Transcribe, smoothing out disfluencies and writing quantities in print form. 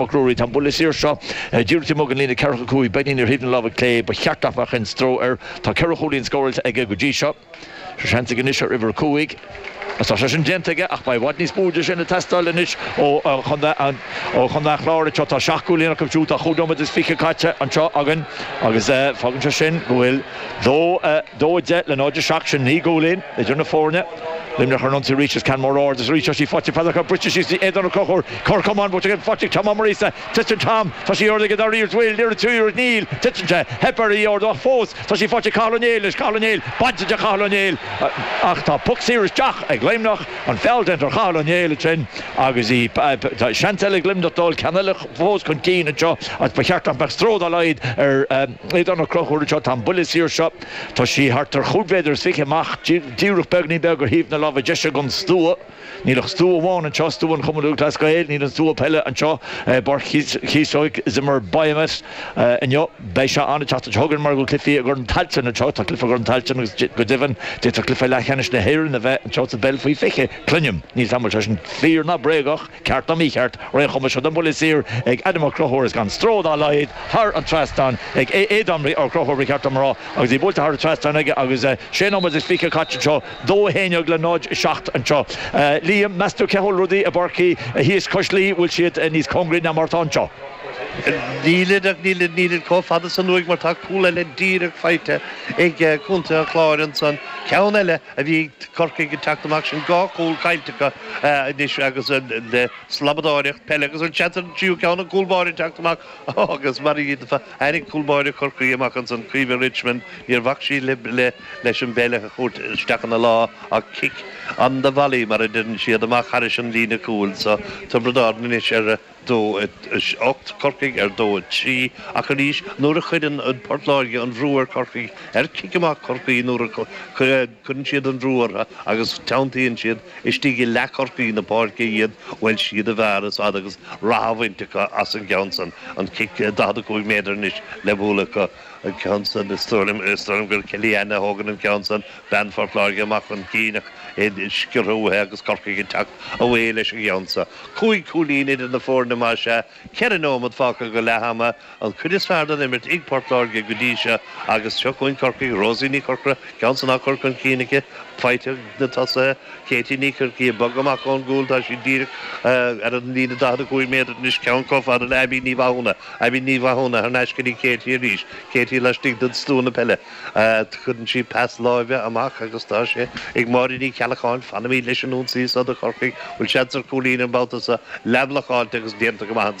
Mac Ruairí. Tá an buille saor seo díreach taobh amuigh den líne 45, beagnín ar thaobh na láimhe clé. Ba cheart nach mbeadh aon stró air. Tá ceithre chúilín scóráilte aige go dtí seo. Seo seans aige anois ar uimhir 5. Agus tá sé sin déanta aige ach beidh i bhfad níos mó de sin ag teastáil anois ó chontae an Chláir anseo. Tá seacht gcúilín acu siúd. Tá chúig nóiméad is fiche caite anseo againn agus fágann sé sin go bhfuil dó, 2-10 le 0-7, sin naoi gcúilín idir na foirne. Luimneach ar an ionsaí arís is ceann mór ard is arís tá sí faighte ag Peadar briste síos go dtí Aodán Ó Conchúir. Cor camán buailte aige faighte ag Tom Ó Muiríosa. Titeann Tom. Tá sí ardaithe aige dara iarracht bhfuil iarracht trí iarracht níl. Titeann sé. Theip air í a ardú ach fós tá sí faighte ag Cathal Ó Néill anois. Cathal Ó Néill bainte de Chathal Ó Néill ach tá poc saor isteach ag Luimneach. An feall déanta ar Chathal Ó Néill ansin agus í tá seans eile ag Luimneach dul ceann eile fós chun cinn anseo agus ba cheart nach mbeadh stró dá laghad ar Aodán Ó Conchúir anseo. Tá an buille saor seo tá sí thart ar chúig mhéadar is fiche amach díreach beagnín beag ar thaobh na láimhe deise den stua. Níl ach stua amháin anseo, stua an Chumann Lúthchleas Gael. Níl an stua peile anseo i bPáirc Chíosóg Zimmer Biomet inniu. Beidh sé ann an tseachtain seo chugainn mar go bhfuil cluichí i gCorn Tailteann anseo. Tá cluiche i gCorn Tailteann agus go deimhin d'fhéadfadh cluiche leathcheannais na hÉireann a bheith anseo sa bpeil faoi 20. Cluinim. Níl 's a'm an bhfuil sé sin fíor ná bréagach, ceart ná mícheart. Ar aon chuma, seo an buille saor ag Adam Ó Conchúir is gan stró dá laghad thar an trasnán ag Aodán Ó Conchúir ba cheart dom a rá agus í buailte thar an trasnán aige agus sé nóiméad is fiche caite anseo. 2 1 le 0 7 anseo. Liam, meas tú cé chomh rudaí i bPáirc thíos cois Laoi, bhfuil siad níos cóngaraí ná mar atá anseo? Nílid ach nílid nílid chomh fada san uaidh mar tá cúl eile díreach faighte ag Contae an Chláir ansan. Ceann eile a bhí ag Corcaigh ag teacht amach sin dhá chúl caillte acu anois agus le slabadóireacht peile agus an seans ar an tríú ceann an cúl báire ag teacht amach agus mar a tháinig cúl báire Chorcaí amach ansan Caoimhe Richmond níor bhac sí le leis an bpeil a thabhairt isteach ina lámh ach cic on the volley mar a deireann siad, amach thairis an líne cúil. So Tiobraid Árann anois ar 2, 8, Corcaigh ar 2, 3 ach arís nuair a chuireann Port Láirge an bhrú ar Chorcaigh, ar cic amach Chorcaí nuair a chuireann siad an bhrú orthu agus teanntaíonn siad istigh i leath Chorcaí na páirce iad, bhuel siad a bhfearr is fad agus rath á bhaint acu as an gceann san, an cic 45 méadar anois le bualadh acu. An ceann san, is dóigh liom, is dóigh liom gur Kellyanne a thógann an ceann san, bean Phort Láirge amach chun cinn ach é sciorrtha uaithi agus Corcaigh ag teacht away leis an gceann so. Cúig chúilín idir na foirne más ea, ceithre nóiméad fágtha go leath ama, an chuid is fearr den imirt ag Port Láirge go dtí seo agus seo chugainn Corcaigh, Rosie Ní Chorcora, ceann san á chur chun cinn aici, faighte ag na tosaithe. Katie Ní Chorcaí ag bogadh amach ón gcúl, tá sí díreach ar an líne 45 méadar anois, ceann chomh fada le Abbie Ní Mhathúna. Abbie Ní Mhathúna thar n-ais go dtí Katie arís. Katie laistigh den stua na peile. Cuireann sí pas láimhe amach agus tá sé ag Máire Ní Cheallacháin. Fanaimid leis an ionsaí seo do Chorcaigh. Bhfuil seans ar chúilín an babhta seo? Leathbhlocáilte agus déanta go maith ansan.